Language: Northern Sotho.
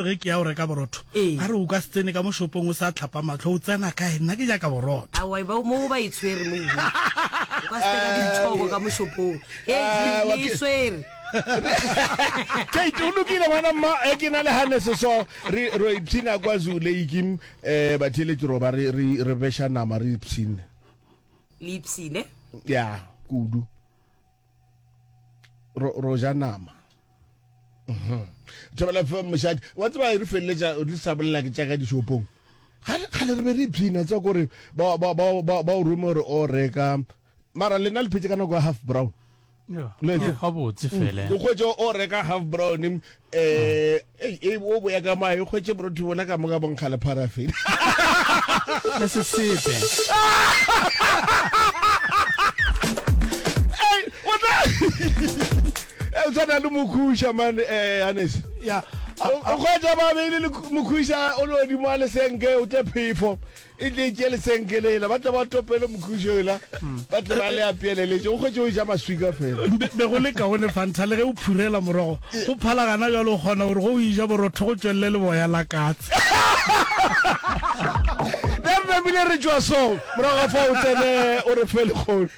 re ge ke ya go reka borotho, Ee. ba re o ka se tsene ka mo shopong o sa tlhapa mahlo, o tsena kae? Nna ke nyaka borotho. Aowa, ba, mo ba e tshwere mo. O ka se tsena ditšhoko ka mo shopong. Hei, Ah, le wa e ke- swere. Kate, o lokile ngwana mma, e ke na le Hannes so re ro ipshina kwa Zoo Lake eh batheeletši ro ba re re re beša nama re ipshine. Le ipshine? Ya, kudu. Ro ro ja nama. Mhm. Thobela FM mošate. Wa tseba re feleletša re sa bolela ke tša ka dishopong. Kgale kgale re be re ipshina tsa kore ba ba ba ba ba o rome gore o reka mara lena le phetše ka nako ya half brown. Gabotse fela. O hwetše o reka half brown um e o boya ka mae o hwetše borotho bona ka moka bonkga le paraffin. Le sesepe. Ei, o tla o tshwana le mokhuša man eh Hannes. Ya. O hwetša ba beile le mokhuša o le godimo a lesenke o tle phefo. E tle e tšee lesenke lela, ba tle ba topele mokhušo ela, ba tle ba le apeeleletše, o hwetše o ja maswika fela. Be, be go le kaone Fanta, le ge o phurela morogo, go phala gana bjalo o kgona gore ge o eja borotho go tšwelele leboya la katse. Re re namile re tšwa so, morago ga fao o tsene o re fe lekgono.